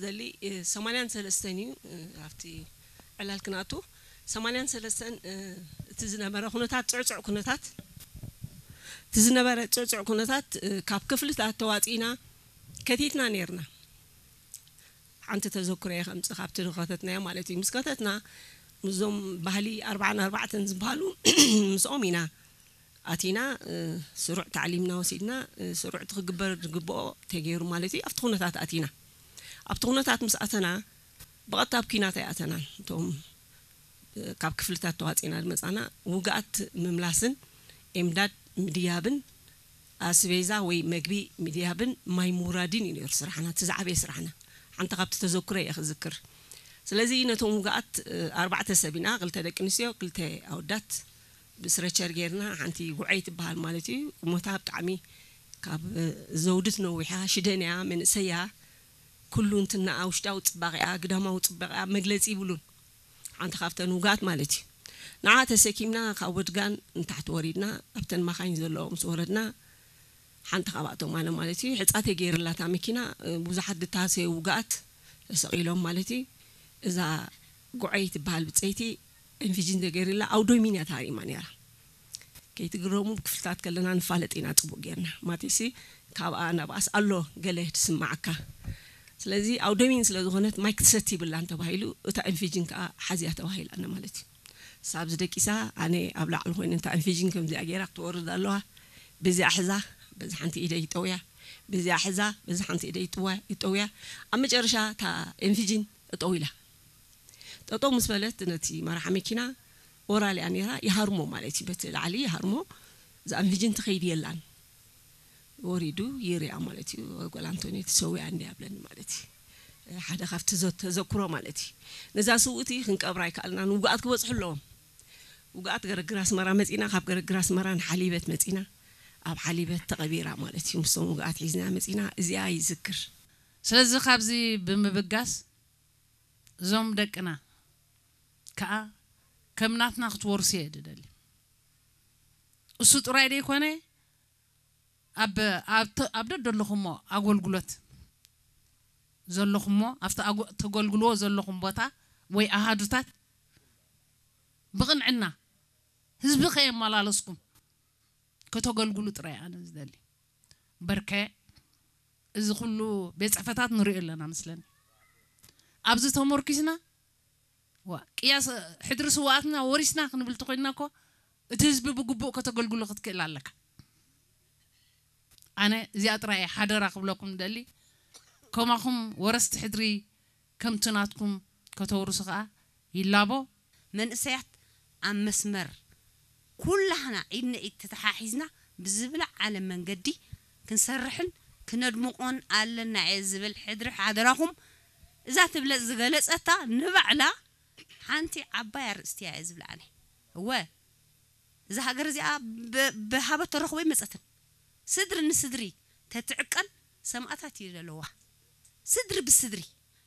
ዘሊ ሰማንያን ሰለስተን እዩ። ኣብቲ ዕላል ክንኣቱ ሰማንያን ሰለስተን እቲ ዝነበረ ኩነታት፣ ፅዕፅዕ ኩነታት፣ እቲ ዝነበረ ፅዕፅዕ ኩነታት ካብ ክፍልታት ተዋፂእና ከቲትና ነይርና። ሓንቲ ተዘክሮ እየ ከምፅእ፣ ካብቲ ዝኸተትናዮ ማለት እዩ። ምስ ከተትና ምስዞም ባህሊ ኣርባዓን ኣርባዕተን ዝበሃሉ ምስኦም ኢና ኣቲና። ስሩዕ ታዕሊምና ወሲድና፣ ስሩዕ እቲ ክግበር ዝግብኦ ተገይሩ ማለት እዩ። ኣብቲ ኩነታት ኣቲና፣ ኣብቲ ኩነታት ምስ ኣተና ብቐጥታ ኣብ ኲናት ኣይኣተናን። እቶም ካብ ክፍልታት ተዋፂና ዝመፃና ውግኣት ምምላስን ኤምዳድ ምድያብን ኣስቤዛ ወይ መግቢ ምድያብን ማይ ምውራድን እዩ ነይሩ ስራሕና፣ እቲ ዝዓበየ ስራሕና። ሓንቲ ካብቲ ተዘክሮ እየ ክዝክር። ስለዚ ነቶም ውግኣት ኣርባዕተ ሰብ ኢና፣ ክልተ ደቂ ኣንስትዮ፣ ክልተ ኣወዳት ብስረቸር ጌርና፣ ሓንቲ ጉዐይ ትበሃል ማለት እዩ። ቁመታ ብጣዕሚ ካብ ዘውድት ነዊሓ፣ ሽደን እያ፣ መንእሰይ እያ። ኩሉ እንትናኣ ውሽጣዊ ፅባቐኣ፣ ግዳማዊ ፅባቐኣ መግለፂ ይብሉን። ሓንቲ ካብተን ውግኣት ማለት እዩ። ንዓ ተሰኪምና ካብ ወድጋን ንታሕቲ ወሪድና ኣብተን ማኻይን ዘለዎ ምስ ወረድና፣ ሓንቲ ካብኣቶም ኣነ ማለት እዩ። ሕፃ ተገይርላታ መኪና፣ ብዙሓት ድታሰዩ ውግኣት ተሰቒሎም ማለት እዩ። እዛ ጉዐይ ትበሃል ብፀይቲ ኤንፊጂን ተገይርላ ኣውዶሚን እያ ተሃሪማ ነይራ። ከይትግረሙ ብክፍልታት ከለና ንፋለጥ ኢና ፅቡቅ ጌርና። ማቲሲ ካብኣ ናብኣስ ኣሎ ገለ ትስማዓካ። ስለዚ ኣውደሚን ስለ ዝኾነት ማይ ክትሰቲ ይብላን ተባሂሉ፣ እታ ኢንፊጅን ከዓ ሓዝያ ተባሂላና ማለት እዩ። ሳብ ዝደቂሳ ኣነ ኣብ ላዕሊ ኮይነ እታ ኢንፊጅን ከምዚኣ ገይራ ክትወርድ ኣለዋ። በዚኣ ሕዛ በዚ ሓንቲ ኢደ ይጠውያ፣ በዚኣ ሕዛ በዚ ሓንቲ ኢደ ይጥዋ- ይጠውያ። ኣብ መጨረሻ እታ ኢንፊጅን እጠው ኢላ። ጠጠው ምስ በለት ነቲ መራሒ መኪና ኦራል እያ ነይራ፣ ይሃርሞ ማለት እዩ። በቲ ላዕሊ ይሃርሞ፣ እዛ ኢንፊጅን ትኸይድ የላን። ወሪዱ ይርያ ማለት እዩ። ጓል ኣንቶኒ ተሰዊኣ እንዲ ኣብለኒ ማለት እዩ። ሓደ ካብቲ ዘ- ተዘክሮ ማለት እዩ። ነዛ ስውእቲ ክንቀብራ ኣይከኣልናን። ውግኣት ክበፅሑ ኣለዎም። ውግኣት ገረግር ኣስመራ መፂና፣ ካብ ገረግር ኣስመራ ንሓሊበት መፂና፣ ኣብ ሓሊበት ተቐቢራ ማለት እዩ። ምስቶም ውግኣት ሒዝና መፂና፣ እዚኣ ይዝክር። ስለዚ ካብዚ ብምብጋስ እዞም ደቅና ከዓ ከም ናትና ክትወርሱ እየ ድደሊ። እሱ ጥራይ ደይኮነ ኣብ ኣብ ተ- ኣብ ደደለኹሞ ኣገልግሎት ዘለኹሞ ኣብቲ ኣጎ- ተገልግልዎ ዘለኹም ቦታ ወይ ኣሃዱታት ብቕንዕና ህዝቢ ከየመላለስኩም ከተገልግሉ ጥራይ ኣነ ዝደሊ። በርከ እዚ ኩሉ ቤት ፅሕፈታት ንሪኦ ኣለና መስለኒ። ኣብዚ ተመርኪስና ዋ ቅያስ ሕድሪ ስውኣትና ወሪስና ክንብል ተኮይንና እኮ እቲ ህዝቢ ብግቡእ ከተገልግሎ ክትክእል ኣለካ። ኣነ እዚኣ ጥራይ እየ ሓደራ ክብለኩም ደሊ። ከማኹም ወረስቲ ሕድሪ ከምቲ ናትኩም ከተውርሱ ከዓ ይላቦ። መንእሰያት ኣብ መስመር ኩላህና ኢድ ንኢድ ተተሓሒዝና ብዝብለ ዓለም መንገዲ ክንሰርሕን ክነድምቆን ኣለና እየ ዝብል። ሕድሪ ሓደራኹም እዛ ትብለጽ ዝገለጸታ ንባዕላ ሓንቲ ዓባይ ኣርእስቲ እያ እየ ዝብላ ኣነ። እወ እዛ ሃገር እዚኣ ብ- ብሃበት ተረኽቦ ይመጸትን። ስድሪ ንስድሪ ተትዕቀን ሰማእታት እዩ ዘለዋ። ስድሪ ብስድሪ።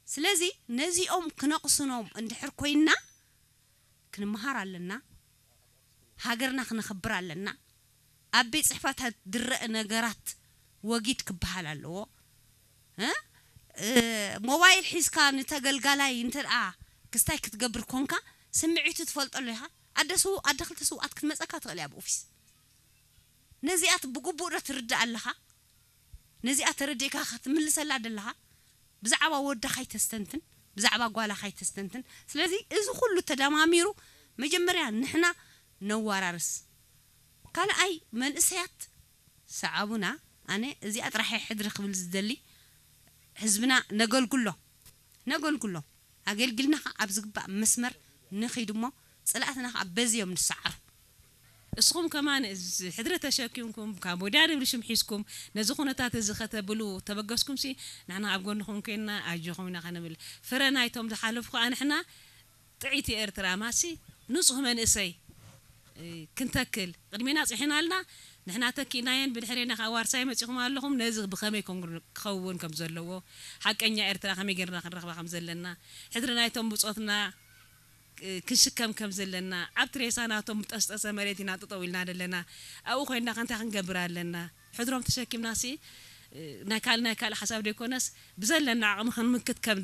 ስለዚ ነዚኦም ክነቕስኖም እንድሕር ኮይንና ክንመሃር ኣለና። ሃገርና ክነኽብር ኣለና። ኣብ ቤት ፅሕፈታት ዝረአ ነገራት ወጊድ ክበሃል ኣለዎ። እ? እ፣ ሞባይል ሒዝካ ንተገልጋላይ እንተ ደኣ ክስታይ ክትገብር ኮንካ ስምዒቱ ትፈልጠሉ ኢኻ። ኣደ ስው ኣደ ክልተ ስውኣት ክትመፀካ ትኽእል እያ ብኦፊስ። ነዚኣት ብግቡእ ዶ ትርዳእ ኣለኻ? ነዚኣ ተረዲእካ ክትምልሰላ ደለኻ? ብዛዕባ ወዳ ካይተስተንትን ብዛዕባ ጓላ ካይተስተንትን። ስለዚ እዚ ኩሉ ተደማሚሩ መጀመርያ ንሕና ነዋራርስ። ካልኣይ መንእሰያት ሰዓቡና። ኣነ እዚኣ ጥራሕ ሕድሪ ክብል ዝደሊ። ህዝብና ነገልግሎ ነገልግሎ ኣገልግልና ከዓ ኣብ ዝግባእ መስመር ንኺድ እሞ ፀላእትና ከዓ በዚ እዮም ንሰዓሩ። እስኹም ከማን እዚ ሕድሪ ተሸኪምኩም ካብ ወዲያ ድብል ሽም ሒዝኩም ነዚ ኩነታት እዚ ከተብሉ ተበገስኩም ሲ ንሕና ኣብ ጎንኹም ኮይንና ኣጆኹም ኢና ከንብል። ፍረ ናይቶም ዝሓለፉ ከዓ ንሕና ጥዕይቲ ኤርትራ ማሲ ንፁህ መንእሰይ ክንተክል ቅድሜና ፅሒና ኣልና። ንሕና ተኪእናየን ብድሕሬና ከዓ ዋርሳይ መፂኹም ኣለኹም። ነዚ ብኸመይ ክኸውን ከም ዘለዎ ሓቀኛ ኤርትራ ከመይ ጌርና ክንረኽባ ከም ዘለና ሕድሪ ናይቶም ብፆትና ክንሽከም ከም ዘለና ኣብቲ ሬሳ ናቶም ጠስጠሰ መሬት ኢና ጠጠው ኢልና ዘለና። ኣብኡ ኮይንና ከ እንታይ ክንገብር ኣለና? ሕድሮም ተሸኪምና ሲ ናይ ካልእ ናይ ካልእ ሓሳብ ዘይኮነስ ብዘለና ዓቕሚ ክንምክት ከም